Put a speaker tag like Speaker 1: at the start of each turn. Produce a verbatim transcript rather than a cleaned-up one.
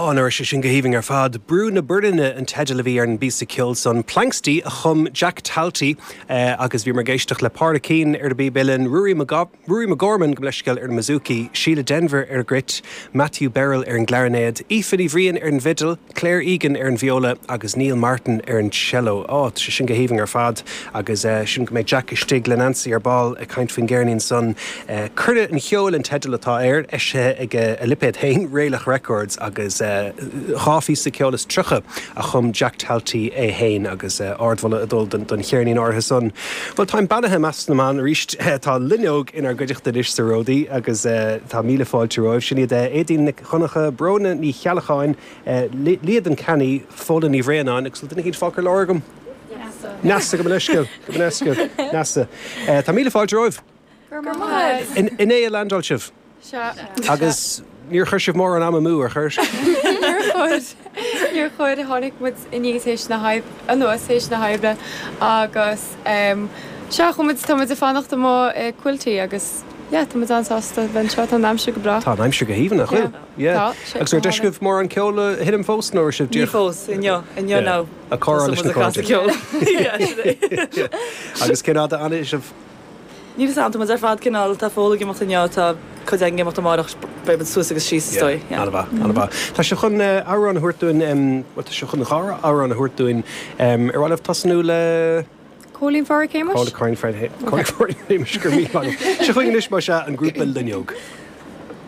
Speaker 1: Á, nach raibh sé sin go haoibhinn ar fad. Brú na Boirinne an teideal a bhí ar an bpíosa ceoil san. Planxty a chum Jack Talty agus bhíomar ag éisteacht le Pádraic Keane ar an bpíb uilleann, Ruairí Ruairí McGorman gabh mo leithscéal ar an mbouzouki, Síle Denvir ar an gcruit, Matthew Birrell ar an gclarinéad, Aoife Ní Bhriain ar an bhfidil, Claire Egan ar an viola agus Neil Martin ar an cello. Á, tá sé sin go haoibhinn ar fad agus sin go mbeidh Jack istigh le Nancy ar ball ag caint faoin gceirnín san. Cuireadh an Cheoil an teideal atá air, eisithe ag a lipéad féin, Raelach Records agus dhá phíosa ceoil is tríocha a chum Jack Talty é féin agus ardmholadh ag dul don cheirnín áirithe san. Bhuel táim beannaithe i measc na mban arís tá Loinneog inár gcuideachta anois sa Ródaí agus tá míle fáilte romhaibh. Sin iad Éadaoin Nic Dhonncha, Bróna Ní Cheallacháin, Líadan Canny, Fódhla Ní Bhraonáin agus bhfuil duine éicint fágtha ar lár agam? Neasa, gabh mo leithscéal, gabh mo leithscéal, Neasa. Tá míle fáilte romhaibh.
Speaker 2: Go raibh maith agat.
Speaker 1: Inné a landáil sibh?
Speaker 2: Sea.
Speaker 1: Agus níor chuir sibh mórán ama amú, ar chuir?
Speaker 2: Níor chuir. Níor chuir. Tháinig muid aníos théis na hoibre, anuas théis na hoibre agus sea, chuaigh muid, tá muid ag fanacht amuigh i Quilty agus yeah, tá muid an-sásta bheith anseo, tá an aimsir go breá.
Speaker 1: Tá an aimsir go haoibhinn, nach bhfuil?
Speaker 2: Yeah. Tá, sé
Speaker 1: Agus ar deis agaibh mórán ceoil a sheinm fós nó ar sibh
Speaker 3: Ní fós, inniu, inniu nó.
Speaker 1: Ag comhrá leis na cairde.
Speaker 3: Ceol. Yeah, sin é.
Speaker 1: Agus cén fhad a fhanfaidh sibh?
Speaker 3: Níl fhios agam, tá muid ar fad cineál, tá Fódhla ag imeacht inniu, tá cuid againn ag imeacht amárach, beidh muid suas agus síos is dóigh.
Speaker 1: Yeah, an-mhaith, an-mhaith. Tá sibh chun amhrán a thabhairt dúinn, bhuel tá sibh chun dhá amhrán a thabhairt dúinn. Ar mhaith libh tosnú le...
Speaker 2: Cóilín Pháraic Shéamais?
Speaker 1: Cóilín Pháraic Shéamais, go raibh míle maith agat. Seo chugainn anois más ea an grúpa Loinneog.